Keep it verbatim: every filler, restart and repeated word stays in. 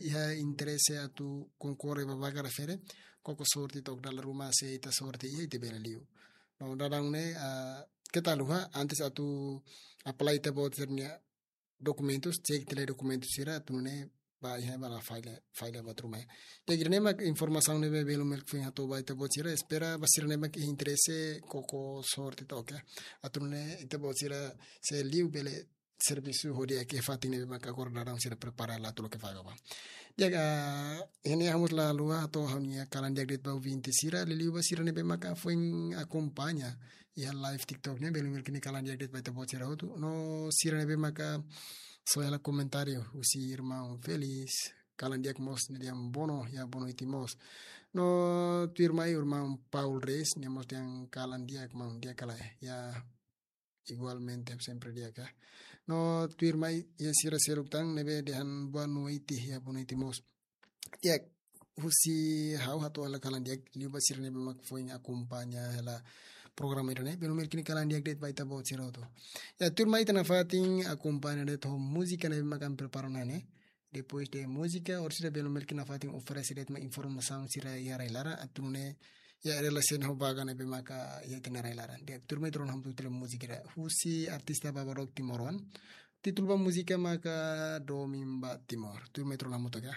iha interese atu konkorre ba vaga refere, koko sorte to'o dala ruma se ita sorte iha ita bele liu. No dadaun ne'e, ah, keta haluha, antes atu apply ita-boot sira-nia dokumentus, cek tiha lai dokumentus sira, atu nune'e ba iha ba la falla, falla buat ruma. Jadi ne'e mak informasaun ne'ebé belun Melkfin hato'o ba ita-boot sira, espera ba sira ne'ebé mak interese koko sorte to'o, oke. Atu nune'e ita-boot sira se liu bele servisu ho di'ak iha fatin ne'ebé mak agora dadaun sira prepara hela atu loke vaga ba. Di'ak, ah, iha ne'e ha'u mós la haluha hato'o ha'u-nia kalan di'ak de'it ba ouvinte sira, liuliu ba sira ne'ebé mak foin akompaña iha live TikTok ne'e, belun Melkfin nia kalan di'ak de'it ba ita-boot sira hotu. No sira ne'ebé mak soe hela komentáriu, husi irmaun Felis, kalan di'ak mós, nia dehan boa noite, ya boa noite mós. No tuirmai irmaun Paul Reis, nia mós dehan kalan di'ak maun, di'ak ka lae, ya igualmente sempre di'ak ka. No tuirmai iha sira seluk tan ne'ebé dehan boa noite, ya boa noite mós. Ya, husi ha'u hato'o hela kalan di'ak liu ba sira ne'ebé mak foin akompaña hela programa ida-ne'e, belun Melkfin nia kalan di'ak de'it ba ita-boot sira hotu. Ya, tuirmai ita nafatin akompaña de'it ho múzika ne'ebé mak ami prepara ona ne'e. Depois de múzika, orsida belun Melkfin nafatin oferese de'it mak informasaun sira iha rai-laran, atu nune'e iha relasiona ho vaga ne'ebé mak iha ita-nia rai-laran. Di'ak, tuirmai ita rona hamutuk tiha lai múzika ida husi artista Babadook timoroan. Títulu ba múzika maka Domin ba Timor. Tuirmai ita rona hamutuk ka.